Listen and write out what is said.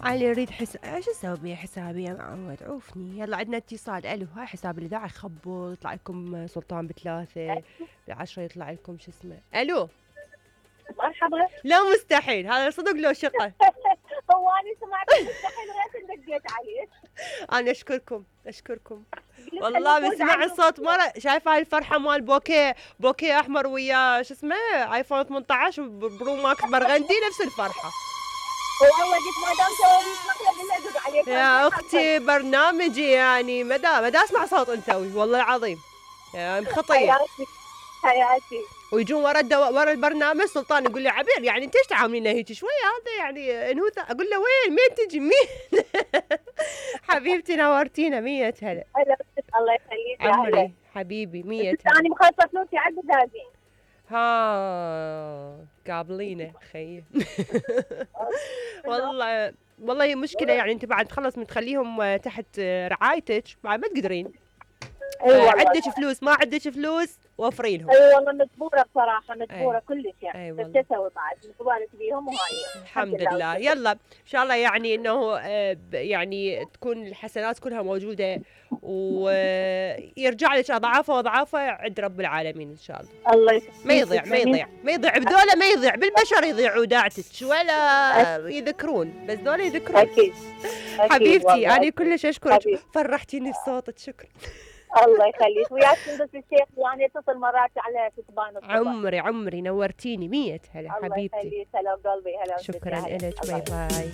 علي اريد ايش اسوي بيه حسابي يا معود؟ عوفني. يلا عندنا اتصال. الو، هاي حساب الاذاعه يخبط يطلع لكم سلطان ب3، ب10 يطلع لكم شو اسمه. الو مرحبا. لا مستحيل، هذا صدق لو شقه. هو انا سمعت مستحيل غير دقيت عليه. انا اشكركم والله. بسمع الصوت مره. شايفه هاي الفرحه مال بوكيه احمر ويا شو اسمه ايفون 18 برو ماكس برغندي، نفس الفرحه. والله قلت ما دام سويت مقلب الا ادق عليك يا اختي برنامجي يعني مدى اسمع صوت انثوي والله العظيم، يعني خطيه. حياتي. ويجون ورا البرنامج سلطان يقول لي عبير يعني انت ايش تعاملينه هيك شويه؟ هذا يعني انوثه. اقول له وين تجي مين؟ حبيبتي نورتينا. 100 هلا. الله يخليك عمري حبيبي. 100 هلا. انا مخلصه فلوسي عند زازين. ها قابلينه خيي. والله هي مشكله يعني. انت بعد تخلص من تخليهم تحت رعايتك بعد ما تقدرين. عندك فلوس ما عندك فلوس وفري لهم. اي والله مجبوره بصراحه، مجبوره كلش يعني. بس تسوي بعد مجبوره بيهم وهاي. الحمد لله. يلا ان شاء الله يعني انه يعني تكون الحسنات كلها موجوده ويرجع لك اضعافه عند رب العالمين ان شاء الله. الله يسلمك. ما يضيع بذولا، ما يضيع بالبشر، يضيعوا داعتك ولا يذكرون، بس ذولا يذكرون. اكيد حبيبتي انا كلش اشكرك، فرحتيني بصوتك. شكرا. الله يخليك. وياك بس الشيخ يعني اتصل مرات على كتبان الصبح. عمري نورتيني. 100 هلا حبيبتي. الله يخليك. هلا بقلبي. هلا. شكرا لك. باي باي.